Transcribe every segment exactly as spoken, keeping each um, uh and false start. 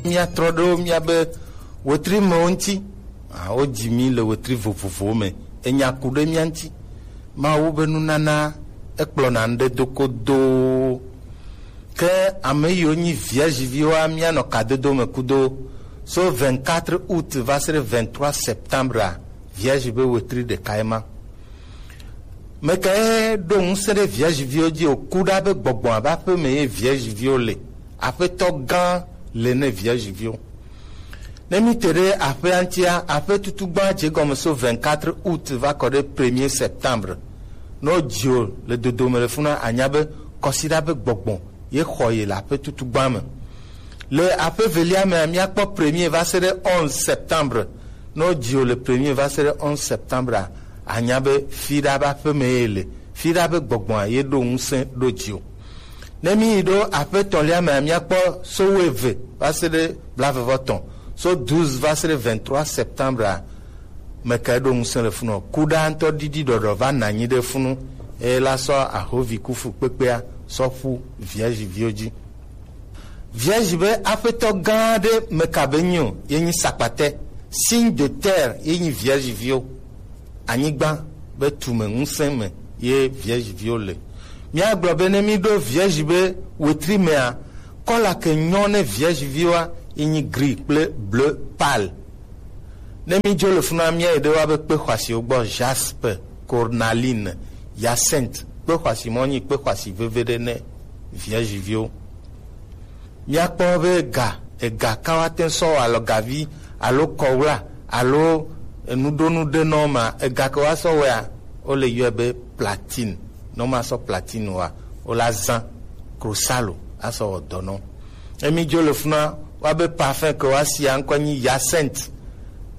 Míatrɔ ɖo míabe wetri mewo ŋuti. Ah, wodzi mí le wetri vovovowo me. Enya ku ɖe mía ŋuti. Mawu be nunana ekplɔna ŋɖe do kodoo. Ke ame yiwo nyi Vierge viwoa, míanɔ kadodo me kudo. So vingt-quatre août va se ɖe vingt-trois septembre a, Vierge be wetri ɖeka ye ma. Mekae ɖo ŋusẽ ɖe Vierge viwo dzi o? Ku ɖa be gbɔgbɔ ava aƒe me ye Vierge viwo le. Aƒetɔ gã le ne Vierge viwo. Ne mi te ɖe aƒea ŋutia, aƒe tutu gbã dze gɔme so vingt-quatre août va kɔ ɖe premier septembre. Ne wodzi o le dodome le funa, anya be kɔsiɖa be gbɔgbɔ ye xɔ ye le aƒe tutu gbã me. Le aƒe velia mea, míakpɔ premier va se ɖe onze septembre. Ne wodzi o le premier va se ɖe onze septembre a, anya be fiɖa be aƒe me ye le. Fiɖa be gbɔgbɔa ye ɖo ŋusẽ ɖo dzi o. Ne míyi ɖo aƒe etɔ̃lia mea, míakpɔ so wuieve va se ɖe blaeve vɔ etɔ̃, so douze va se ɖe vingt-trois septembre a, mekae ɖo ŋusẽ le funu o? Ku ɖa ŋutɔ ɖiɖi ɖɔɖɔ va nɔ anyi ɖe funu, eye la sɔ ahovi kufu kpekpea sɔ ƒu Vierge viwo dzi. Vierge be aƒetɔ gã ɖe meka be nyi o, ye nyi sakpatɛ. Signe de terre ye nyi Vierge viwo. Anyigba be tume ŋusẽ me ye Vierge viwo le. Míagblɔ be ne míɖo Vierge be wetri mea, kɔla ke nyɔ ne Vierge viwoa, ye nyi gris kple bleu pâle. Ne mídzo le funa, míayi ɖe woabe kpe xɔasiwo gbɔ: jaspe, cornaline, hyacinthe. Kpe xɔasi mɔ nyi kpe xɔasi veve ɖe ne Vierge viwo. Míakpɔ be ega, ega ka woate ŋu sɔ wɔ alɔgavi alo kɔwla alo enuɖonu ɖe nɔ ma. Ega ke woasɔ wɔea, wole yɔe be platine. Ne womasɔ platine wɔa, wola zã krosalo asɔ wɔ dɔ nɔ. Emi dzo le funa, woabe parfum ke woasia ŋkɔ nyi hyacinthe.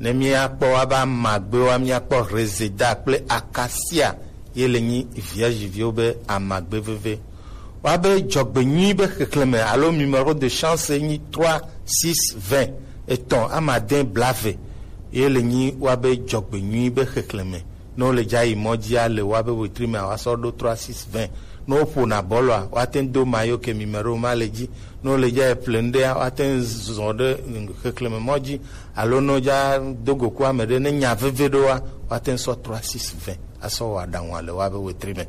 Ne míakpɔ woabe amagbewoa, míakpɔ reseda kple acacia ye le nyi Vierge viwo be amagbe veve. Woabe dzɔgbenyui be xexlẽme alo numéro de chance nyi trois six vingt, etɔ̃ amade blaeve ye le nyi woabe dzɔgbenyui be xexlẽme. Ne wole dza yi mɔ dzia, le woabe wetri mea, woasɔ ɖo trois six vingt. Ne woƒona bɔlɔa, woate ŋu do mayo ke numéro ma le dzi. Ne wole dza yi ƒle nu ɖea, woate ŋu zɔ ɖe xexlẽme mɔ dzi, alo ne wodza do go ku ame ɖe, ne nya veve ɖoa, woate ŋu sɔ trois six vingt asɔ wɔ aɖaŋua le woabe wetri me.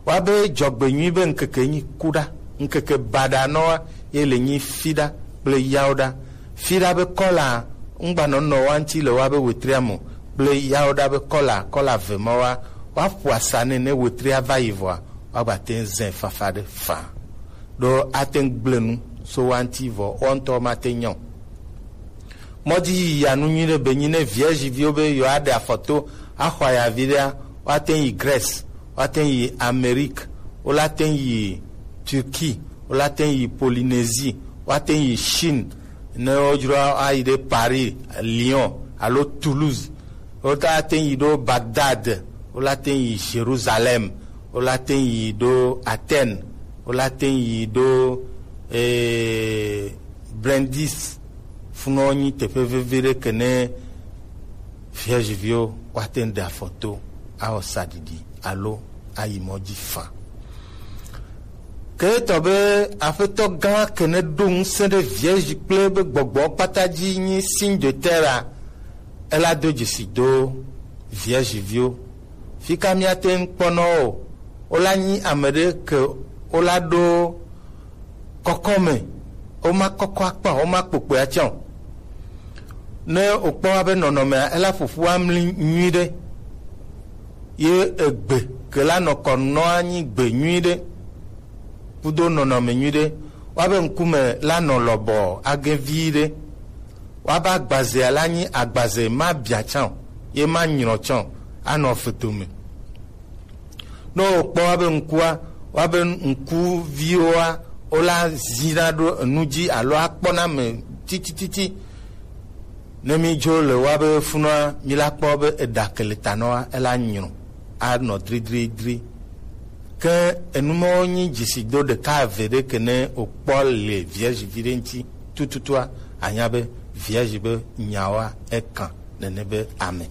Woabe dzɔgbenyui be ŋkeke nyi kuɖa, ŋkeke baɖa nɔa ye le nyi fiɖa kple yawoɖa. Fiɖa be kɔla ŋgbanɔnɔ wa ŋuti le woabe wetria me o, kple yawoɖa be kɔla, kɔla ve ma wa, woaƒo asa nɛ ne wetria va yi vɔa, woagbate ŋu zãe fafa ɖe faa. Ɖo ate ŋu gblẽ nu so wa ŋuti vɔ, wo ŋutɔ mate ŋu nya o. Mɔdzi yiyi anu nyui ɖe be nyi ne Vierge viwo be yewoaɖe afɔ to axɔ ayavi ɖea, woate ŋu yi Grèce, woate ŋu yi Amérique, wolate ŋu yi Turquie, wolate ŋu yi Polynésie, woate ŋu yi Chine, ne wodzro ayi ɖe Paris, Lyon alo Toulouse, wolate ŋu yi ɖo Bagdad, wolate ŋu yi Jérusalem, wolate ŋu yi ɖo Athènes, wolate ŋu yi ɖo, eh, Brindisi. Funɔ nyi teƒe vevi ɖe ke ne Vierge viwo woate ŋu ɖe afɔ to awɔ saɖiɖi alo ayi mɔ dzi faa. Ke etɔ be Aƒetɔ gã ke ne ɖo ŋusẽ ɖe Vierge kple be gbɔgbɔ kpata dzi nyi signe de terre a, ela do dzesi do Vierge viwo. Fika míate ŋu kpɔ nɔ wo? Wola nyi ame ɖe ke wola ɖo kɔkɔme, woma kɔkɔ akpa, woma kpokpoe atsã o. Ne wokpɔ woabe nɔnɔmea, ela ƒoƒu amli nyui ɖe. Ye egbe ke la nɔ kɔ nɔa nyi gbe nyui ɖe, kudo nɔnɔme nyui ɖe. Woabe ŋkume la nɔ lɔbɔ age vi ɖe. Woabe agbazea la nyi agbaze ma bia tsã o, ye ma nyrɔ tsã o, anɔ fedo me. Ne wokpɔ woabe ŋkua, woabe ŋkuviwoa, wola zina ɖo enu dzi alo akpɔna ame titititi. Ne mi dzo le woabe funua, mi la kpɔ be eɖa ke le ta nɔa, ela nyrɔ, anɔ dridridri. Ke enu mawo nyi dzesido ɖeka eve ɖe ke ne wokpɔ le Vierge vi ɖe ŋuti tututua, anya be Vierge be nyawoa ekan nene be ame.